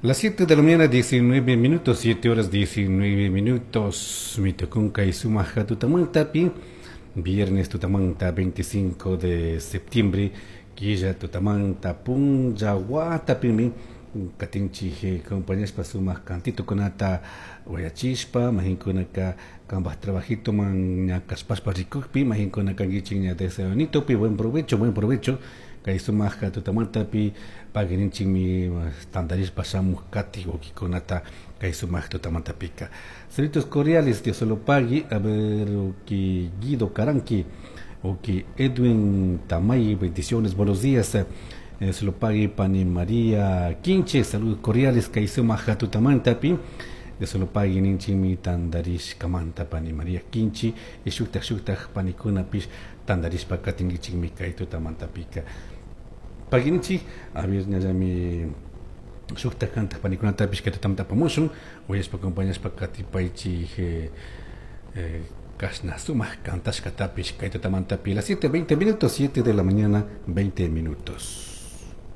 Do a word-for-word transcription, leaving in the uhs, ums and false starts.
Las siete de la mañana, diecinueve minutos, siete horas diecinueve minutos. Mitukunka y sumaja tutamantapi. Viernes tutamanta veinticinco de septiembre. Killa tutamanta punlla watapimi. Katinchij compañaspa sumaq cantitukunata uyachishpa mahinkunaka kambaj trabajitoman ña kashpashpa rikukpi mahinkuna kankichik ña desayunitopi. Buen provecho, buen provecho. Kay sumaq tutamantapi paguirinchikmi tantarishpa shamuj kati wakikunata kay sumaq tutamantapika. Saludos cordiales, Dios lo pague. A ver, que Guido Caranqui, o que Edwin Tamay, bendiciones, buenos días. Eh, se lo pague Pani María Quinche, saludos cordiales, kay sumaq tutamantapi. Dios lo pague ninchimi tandarish kamanta Pani María Quinchi, y shuktaj shuktaj panikunapish tandarishpa katinkichikmi kay tutamantapika. Paguinichi, a ver, ñallami shuktaj kantaj panikunatapish kay tutamanta apamushun, uyashpa acompañashpa katipaychik eh, eh, kashna sumaq kantashkatapish kay tutamantapi. Las siete veinte minutos, siete de la mañana, veinte minutos.